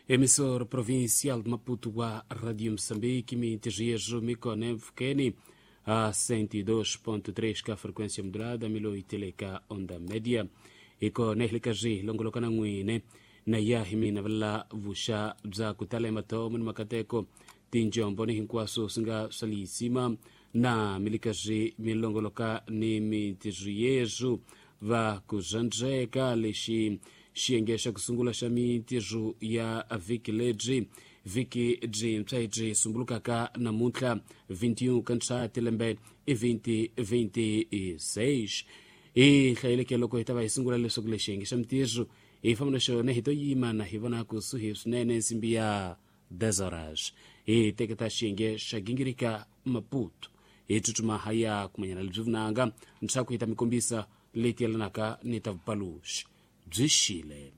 Emissora provincial de Maputo wa Radio Moçambique, mintijias mikone mfukeni a 102.3 ka frequência modulada, 1080 ka onda média. Iko nehlikaji longolokana n'wine na ya hi mina vula vuxa bya ku tala emathomo ni makateko tinjombo ni hinkwaswo swi nga swa liyisima na milikazi milongoloka ni mintirho yesu va ku zwandzeka lexi xiyenge xa ku sungula xa mintirho ya vhiki lebyi vhiki byintshwa lebyi sumbulukaka namuntlha 21 ka ntswati lembe i 2026. Hi hlayeleke loko hi ta va hi sungula leswaku lexi xiyenge xa mintirho hi famba na xona hi to yima na hi vona kusuhi swinene nsimbi ya 10 horas hi teketa xiyenge xa gingirika Maputo hi tsutsuma ha ya kumanyana lebyi vunanga ntshaku hi ta mi kombisa leti yelanaka ni ta vupaluxi byi xile.